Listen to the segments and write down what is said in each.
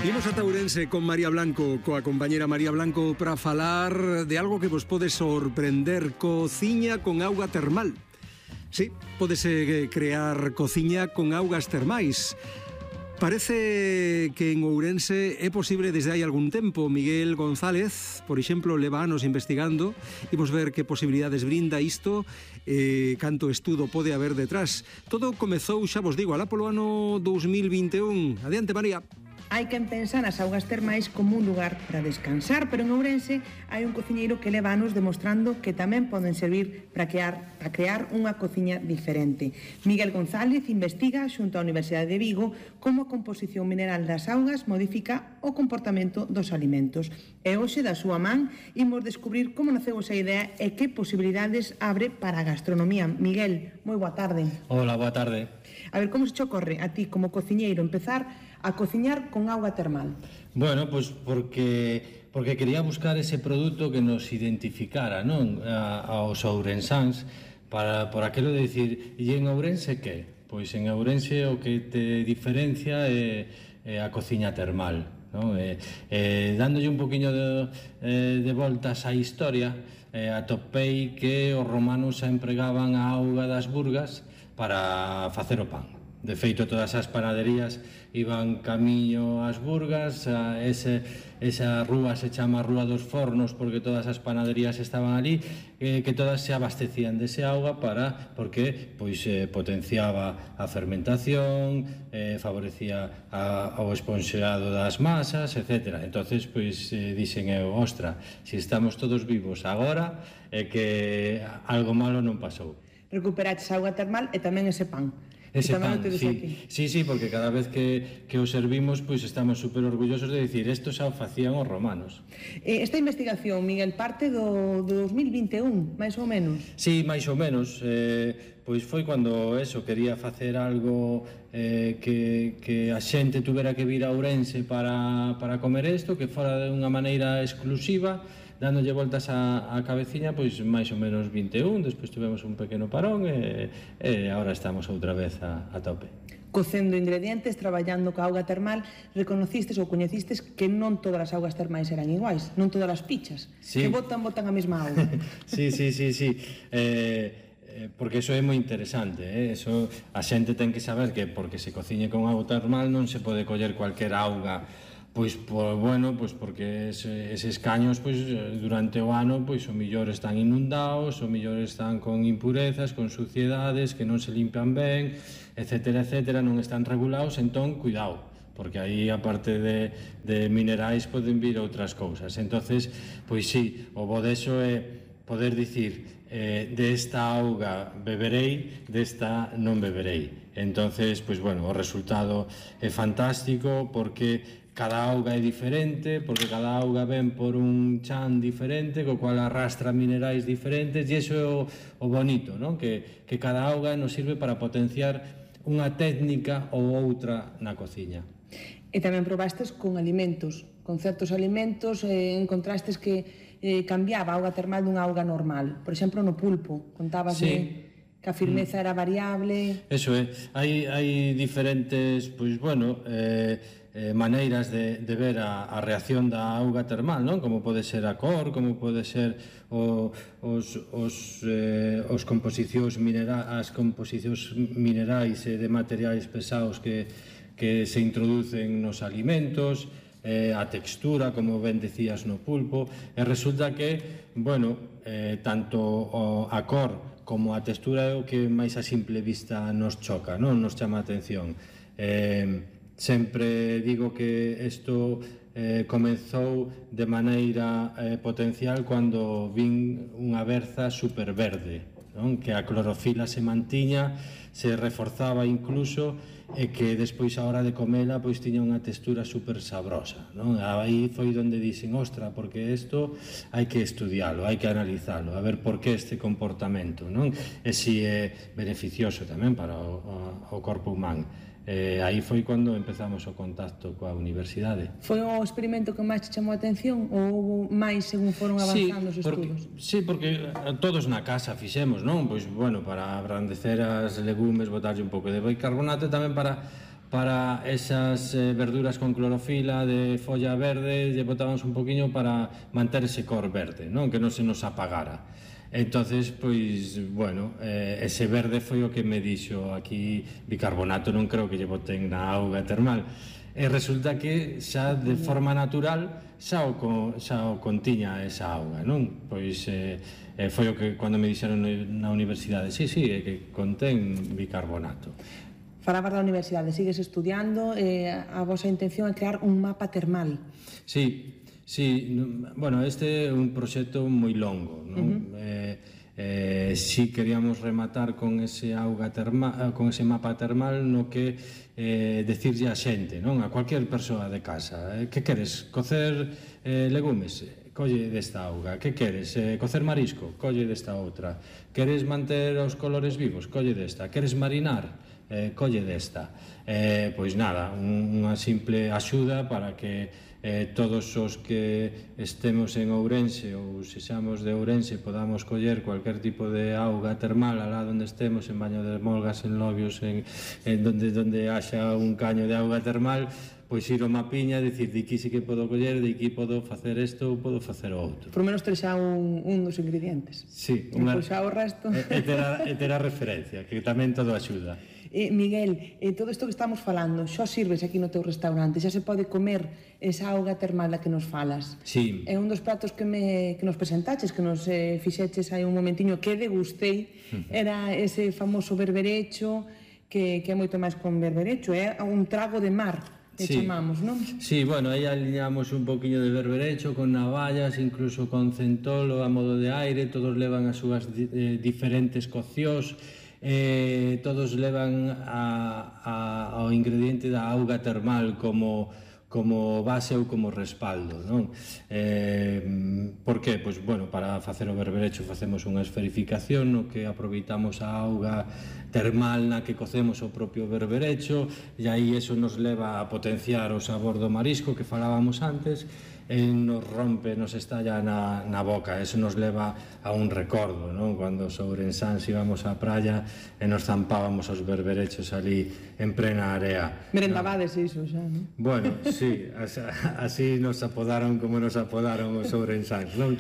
Imos ata Ourense con María Blanco, coa compañera María Blanco, para falar de algo que vos pode sorprender: cociña con auga termal. Sí, pódese crear cociña con augas termais. Parece que en Ourense é posible desde hai algún tempo. Miguel González, por exemplo, leva anos investigando. Imos ver que posibilidades brinda isto, canto estudo pode haber detrás. Todo comezou, xa vos digo, alá polo ano 2021. Adiante, María. Hai quen pensa nas augas termais como un lugar para descansar, pero en Ourense hai un cociñeiro que leva anos demostrando que tamén poden servir para crear unha cociña diferente. Miguel González investiga xunto á Universidade de Vigo como a composición mineral das augas modifica o comportamento dos alimentos. E hoxe, da súa man, imos descubrir como naceu esa idea e que posibilidades abre para a gastronomía. Miguel, moi boa tarde. Hola, boa tarde. A ver, como se te ocorre a ti como cociñeiro empezar a cociñar con auga termal? Bueno, pois porque quería buscar ese produto que nos identificara, non, aos ourensáns, por aquelo de dicir, e en Ourense que? Pois en Ourense o que te diferencia é a cociña termal, non? Dándolle un poquinho de voltas á historia, atopei que os romanos empregaban a auga das burgas para facer o pan. De feito, todas as panaderías iban camiño ás burgas, esa rúa se chama Rúa dos Fornos porque todas as panaderías estaban ali, que todas se abastecían dese auga porque pois potenciaba a fermentación, favorecía o esponxeado das masas, etc. Entonces, pois dixen eu, ostra, se estamos todos vivos agora, é que algo malo non pasou. Recuperaches a auga termal e tamén ese pan. Ese pan, sí, porque cada vez que o servimos, pois estamos super orgullosos de dicir, isto xa o facían os romanos. Esta investigación, Miguel, parte do 2021, máis ou menos? Sí, máis ou menos, pois foi cando quería facer algo que a xente tuvera que vir a Ourense para comer isto, que fora de unha maneira exclusiva, dándolle voltas a cabeciña, pois máis ou menos 21, despois tivemos un pequeno parón e agora estamos outra vez a tope. Cocendo ingredientes, traballando ca auga termal, reconocistes ou coñecistes que non todas as augas termais eran iguais, non todas as pichas, que botan a mesma auga. Sí, porque eso é moi interesante, eso a xente ten que saber que porque se cociñe con auga termal non se pode coller cualquier auga. Pois porque eses caños durante o ano o millor están inundados, o millor están con impurezas, con suciedades que non se limpian ben, etcétera, non están regulados, entón cuidado, porque aí aparte de minerais poden vir outras cousas. Entonces, pois sí, o bo deso é poder dicir desta auga beberei, desta non beberei. Entonces, pois bueno, o resultado é fantástico porque cada auga é diferente, porque cada auga ven por un chan diferente, co cual arrastra minerais diferentes, e iso é o bonito, non? Que cada auga nos sirve para potenciar unha técnica ou outra na cociña. E tamén probastes con alimentos, con certos alimentos, encontrastes que cambiaba a auga termal dunha auga normal. Por exemplo, no pulpo, contabas que a firmeza era variable. Eso é, hai diferentes, maneiras de ver a reacción da auga termal, non? Como pode ser a cor, como pode ser as composicións minerais e de materiais pesados que se introducen nos alimentos, a textura, como ben decías, no pulpo, e resulta que, tanto a cor como a textura é o que máis a simple vista nos choca, non nos chama a atención. Sempre digo que isto comenzou de maneira potencial cando vin unha berza superverde, non? Que a clorofila se mantiña, se reforzaba incluso, e que despois a hora de comela pois tiña unha textura super sabrosa, non? Aí foi onde dixen, ostra, porque isto hai que estudialo, hai que analizalo, a ver por que este comportamento, non? E si é beneficioso tamén para o corpo humano. Aí foi cando empezamos o contacto coa universidade. Foi o experimento que máis te chamou a atención ou máis según foron avanzando os estudos? Sí, porque todos na casa fixemos, non? Pois, para abrandecer as legumes, botarlle un pouco de bicarbonato, tamén para para esas verduras con clorofila de folla verde, lle botábamos un poquinho para manter ese cor verde, non? Que non se nos apagara. Entonces, pois, bueno, ese verde foi o que me dixo aquí bicarbonato non creo que lle boten na auga termal. E resulta que xa de forma natural xa o contiña esa auga, non? Pois foi o que cando me dixeron na universidade, sí, é que contén bicarbonato. Falabas da universidade, sigues estudiando, a vosa intención é crear un mapa termal. Sí, bueno, este é un proxecto moi longo, non? Si queríamos rematar con ese auga termal, con ese mapa termal no que decirlle a xente, non? A cualquier persoa de casa, que queres? Cocer legumes? Colle desta auga. Que queres? Cocer marisco? Colle desta outra. Queres manter os colores vivos? Colle desta. Queres marinar? Colle desta. Pois nada, unha simple axuda para que todos os que estemos en Ourense ou sexamos de Ourense podamos coller cualquier tipo de auga termal alá onde estemos, en Baño de Molgas, en Lobios, en donde haxa un caño de auga termal, pois ir ao mapiña e dicir de aquí sí que podo coller, de aquí podo facer isto ou podo facer o outro. Por menos ter xa un dos ingredientes. Sí, pois xa o resto. E ter a referencia, que tamén todo axuda. Miguel, todo isto que estamos falando, xa sirves aquí no teu restaurante, xa se pode comer esa auga termal da que nos falas. Sí. É un dos pratos que nos presentaches, que nos fixeches aí un momentiño, que degustei, era ese famoso berberecho, que é moito máis con berberecho, é un trago de mar, que chamamos, non? Sí, bueno, aí aliñamos un poquinho de berberecho con navallas, incluso con centolo a modo de aire, todos levan as súas diferentes coccións, todos levan ao ingrediente da auga termal como base ou como respaldo, non? Por que? Pois, bueno, para facer o berberecho facemos unha esferificación no que aproveitamos a auga termal na que cocemos o propio berberecho e aí eso nos leva a potenciar o sabor do marisco que falábamos antes e nos rompe, nos estalla na boca. Eso nos leva a un recordo, non? Cando os ourensáns íbamos á praia e nos zampábamos os berberechos ali en plena area. Merendabades iso xa, non? Bueno, sí, así nos apodaron como nos apodaron os ourensáns, non?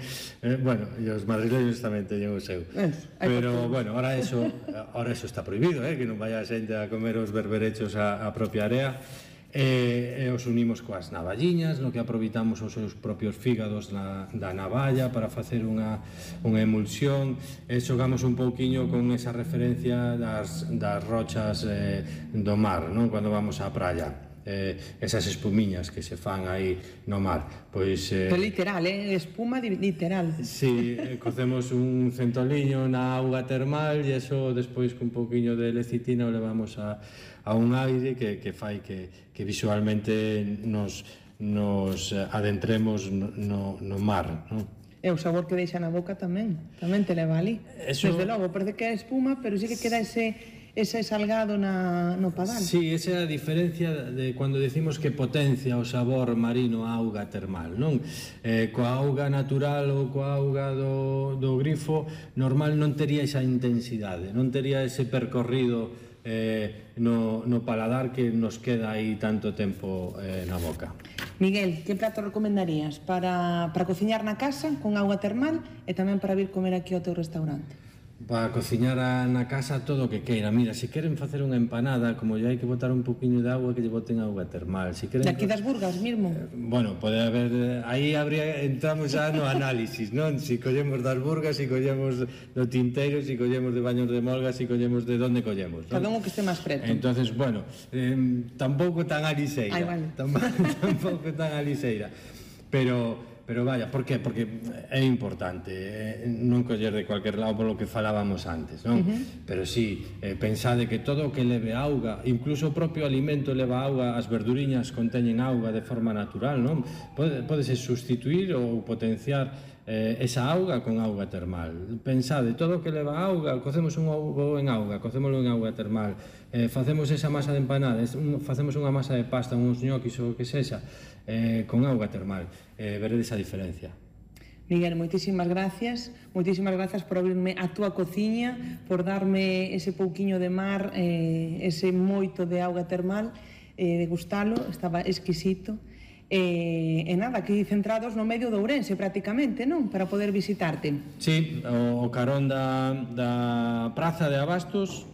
Bueno, e os madrileños tamén teñen o seu. Pero, bueno, ahora eso está prohibido, que non vaya a xente a comer os berberechos á propia area. E os unimos coas navalliñas, no que aproveitamos os seus propios fígados da navalla para facer unha emulsión, e xogamos un pouquiño con esa referencia das rochas do mar, non? Cando vamos á praia. Esas espumiñas que se fan aí no mar, pois... literal, espuma literal. Si, cocemos un centoliño na auga termal e eso despois con un pouquiño de lecitina o levamos a un aire que fai que visualmente nos adentremos no mar, non? E o sabor que deixa na boca tamén te leva ali. Desde logo, parece que é espuma, pero sí que queda ese salgado no padal. Sí, esa é a diferencia de cando decimos que potencia o sabor marino a auga termal, non? Coa auga natural ou coa auga do grifo normal non tería esa intensidade, non tería ese percorrido no paladar que nos queda aí tanto tempo na boca. Miguel, que prato recomendarías para cociñar na casa con auga termal e tamén para vir comer aquí ao teu restaurante? Para cociñar na casa todo o que queira. Mira, se queren facer unha empanada, como lle hai que botar un poquinho de auga, que lle boten auga termal. Si queren... De aquí das Burgas mesmo? Bueno, pode haber... Aí entramos xa no análisis, non? Si collemos das Burgas, si collemos do Tinteiro, si collemos de Baños de Molgas, si collemos de onde collemos, non? Cada un que este máis preto. Entonces, bueno, tampouco tan a liseira. Ai, vale. Tampouco tan a liseira. Pero vaya, por qué? Porque é importante non coller de cualquier lado polo que falábamos antes, non? Pero sí, pensade que todo o que leve auga, incluso o propio alimento leva auga, as verduriñas conteñen auga de forma natural, non? Pódese sustituir ou potenciar esa auga con auga termal. Pensade, todo o que leva auga, cocemos un ovo en auga, cocémolo en auga termal, facemos esa masa de empanadas, facemos unha masa de pasta, uns ñoquis ou o que sexa, con auga termal. Veredes a diferencia. Miguel, moitísimas gracias por abrirme a túa cociña, por darme ese pouquiño de mar, ese moito de auga termal, degustalo, estaba exquisito. E nada, aquí centrados no medio de Ourense prácticamente, non? Para poder visitarte. Sí, o carón da Praza de Abastos,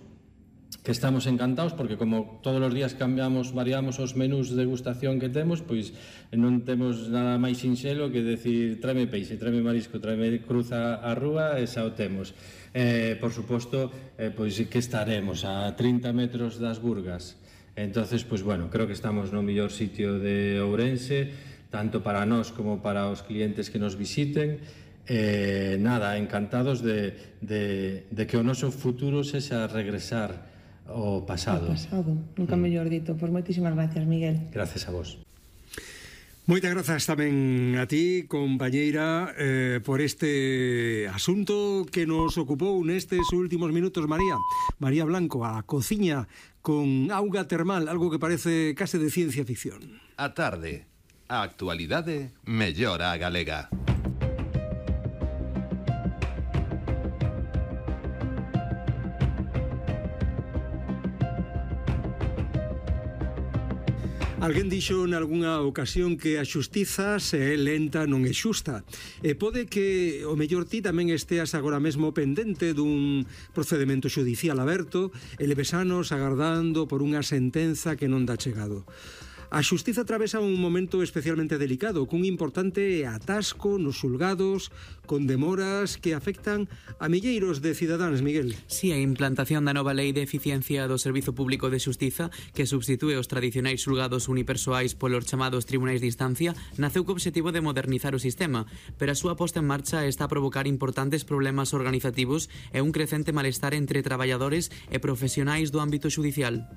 que estamos encantados porque como todos os días variamos os menús de degustación que temos, pois non temos nada máis sinxelo que decir tráeme peixe, tráeme marisco, tráeme cruza a rúa e xa o temos. Por suposto, pois que estaremos a 30 metros das Burgas. Entonces, pois bueno, creo que estamos no mellor sitio de Ourense, tanto para nós como para os clientes que nos visiten. Nada, encantados de que o noso futuro sexa regresar ao pasado. O pasado, nunca mellor dito. Pois moitísimas gracias, Miguel. Gracias a vos. Moitas grazas tamén a ti, compañeira, por este asunto que nos ocupou nestes últimos minutos, María. María Blanco, a cociña con auga termal, algo que parece case de ciencia ficción. A tarde, a actualidade mellora a galega. Alguén dixo nalgúna ocasión que a xustiza, se é lenta, non é xusta. E pode que o mellor ti tamén esteas agora mesmo pendente dun procedimento xudicial aberto e leves anos agardando por unha sentenza que non dá chegado. A xustiza atravesa un momento especialmente delicado, cun importante atasco nos xulgados, con demoras que afectan a milleiros de cidadáns, Miguel. Si, a implantación da nova lei de eficiencia do Servizo Público de Xustiza, que substitúe os tradicionais xulgados unipersoais polos chamados tribunais de instancia, naceu co obxectivo de modernizar o sistema, pero a súa posta en marcha está a provocar importantes problemas organizativos e un crecente malestar entre traballadores e profesionais do ámbito xudicial.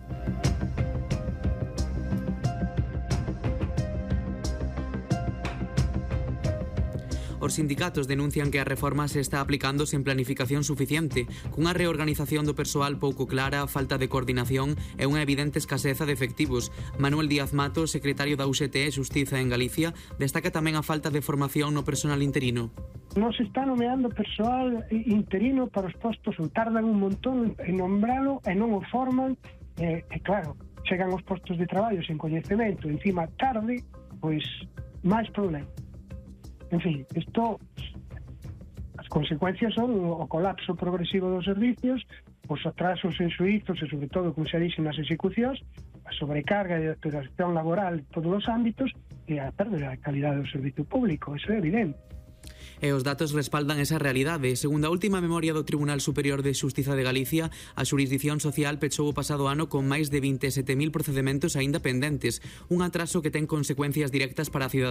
Os sindicatos denuncian que a reforma se está aplicando sen planificación suficiente, cunha reorganización do persoal pouco clara, falta de coordinación e unha evidente escaseza de efectivos. Manuel Díaz Mato, secretario da UGT e Xustiza en Galicia, destaca tamén a falta de formación no personal interino. Non se está nomeando persoal interino para os postos, ou tardan un montón en nombralo e non o forman, e claro, chegan os postos de traballo sen coñecemento, encima tarde, pois máis problema. En fin, as consecuencias son o colapso progresivo dos servicios, os atrasos en suizos e, sobre todo, como xa dixen, nas execucións, a sobrecarga e a explotación laboral en todos os ámbitos e a perda da calidade do servicio público, eso é evidente. E os datos respaldan esa realidade. Segundo a última memoria do Tribunal Superior de Xustiza de Galicia, a xurisdición social pechou o pasado ano con máis de 27.000 procedementos aínda pendentes, un atraso que ten consecuencias directas para a cidadanía